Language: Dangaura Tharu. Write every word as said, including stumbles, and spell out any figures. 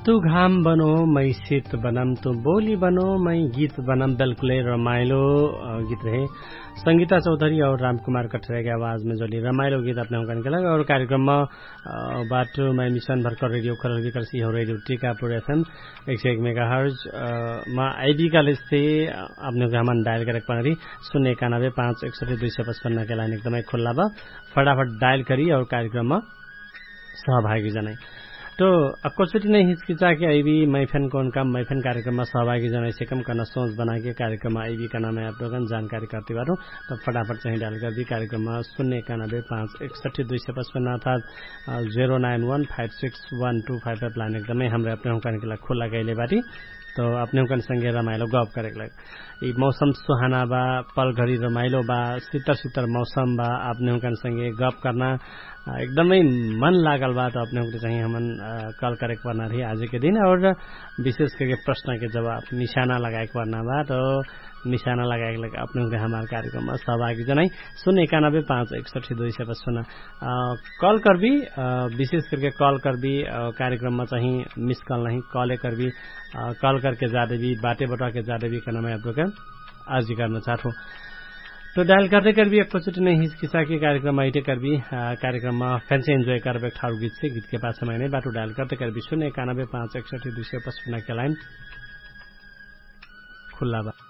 तु घाम बनो मै सित बनम तु बोली बनो मै गीत बनम बेल्कुलै रमाइलो। गीत रहे संगीता चौधरी और रामकुमार कठरेके आवाजमे जौली रमाइलो गीत अपने हुँकन केलक और कार्यक्रममा बाटो मै मिसन भर्कर रेडियो खरल विकर्सी हो रेडियो टिकापुर एफएम एक सय एक मेगा हर्ज। मा आइबी कालेज से अपने हुँकन डायल करेक पाँगरी सुन्ने एकानबे पाँच एकसठी दुई सय पचपन्ना के लाइन एकदमै खुल्ला बा। फटाफट डायल करी और कार्यक्रममा सहभागी जनै। तो अक्को चोटी नै हिचकिचा के अइबी मै फेन कौन काम मै फेन कार्यक्रममा सहभागी जनै सेकम कहना सोच बनाके कार्यक्रममा अइबी कहना मै अपनोकन जानकारी करती बाटो। तब फटाफट चाहिँ डायल करबी कार्यक्रममा सुन्ने एकानबे पाँच एकसठी दुई सय पचपन्ना अर्थात zero nine one five six one two five five line एकदमै हमरे अपने हुँकन के लाग खुल्ला कैले बाटी। तो अपने हुँकन संगे रमाइलो गप करेक लाग यि मौसम सुहाना बा, पलघरी रमाइलो बा, सित्तर सित्तर मौसम बा। अपने हुँकन संगे गप करना एकदमै मन लागल बा। त अपने हुँकन चाहिँ हमन कल करेक पर्ना रही आजके दिन और विशेष करके प्रश्न के जवाब निशाना लगाएक पर्ना बा। त निशाना लगाएक लाग अपने हुँकन हमार कार्यक्रममा सहभागी जनै सुन्ने एकानबे पाँच एकसठी दुई सय पचपन्ना कल करबी। विशेष करके कल करबी कार्यक्रममा चाहिँ मिस कल नहीं कले करबी। कल करके जादेबी बाटे बटुवाके जादेबी कहना मै अपनोकन अर्जी करना चाहत हूँ। तो डायल करते करबी अक्को चोटी नै हिचकिचा के कार्यक्रममा अइटे करबी। कार्यक्रममा फेन से इन्जोय करबे ठाउर गीत से गीत के पाछा मै नै बाटो डायल करते करबी सुन्ने एकानबे पाँच एकसठी दुई सय पचपन्ना के लाइन खुल्ला बा।